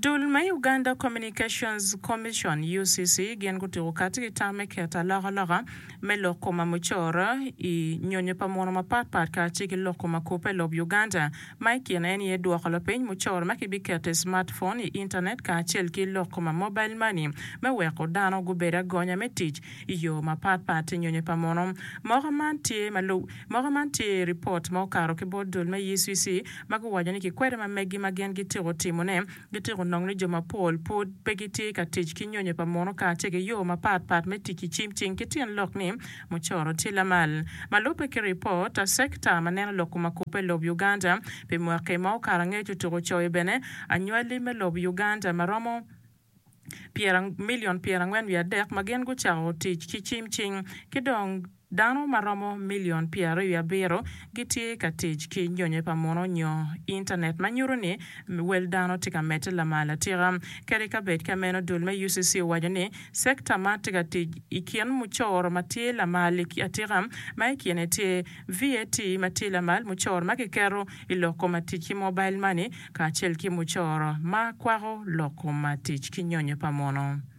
Dul me Uganda Communications Commission, UCC, gin gutuko kati ki tam me keto alokaloka me lok koma mucoro i nyonyo pa muno mapat pat kacel ki lok koma kubbe i lob Uganda ma i kine en aye dwoko lapiny mucoro ma kibiketo i smartphone, i intanet kacel ki lok koma mobile money me weko dano gubed agonya me tic i yo mapat pat i nyonyo pa muno. Moko man tye ma Moko man tye i ripot ma okato ki bot dul me UCC ma guwaco ni kikwede ma megi ma gin gitiko timone gitiko nongo ni jo mapol pud pe gitye ka tic ki nyonyo pa muno kacel ki yo mapat pat me tic ki cim cing ki tyen lok ni mucoro tye lamal. Ma lubbe ki ripot, sekta ma neno lok kom akubbe i lob Uganda pi mwaki ma okato angec otuko coyo bene anywali me lob Uganda ma romo milion 43 ma gin gucako tic ki cim cing ki dong dano ma romo milion 27 gitye ka tic ki nyonyo pa muno nyo intanet ma nyuto ni wel dano tye ka medde lamal atika. Kadi ka bed ka meno, dul me UCC owaco ni sekta man tye ka tic i kin mucoro ma tye lamal atika ma i kine tye VAT ma tye lamal, mucoro ma kiketo i lok kom tic ki mobile money kacel ki mucoro ma kwako lok kom tic ki nyonyo pa muno.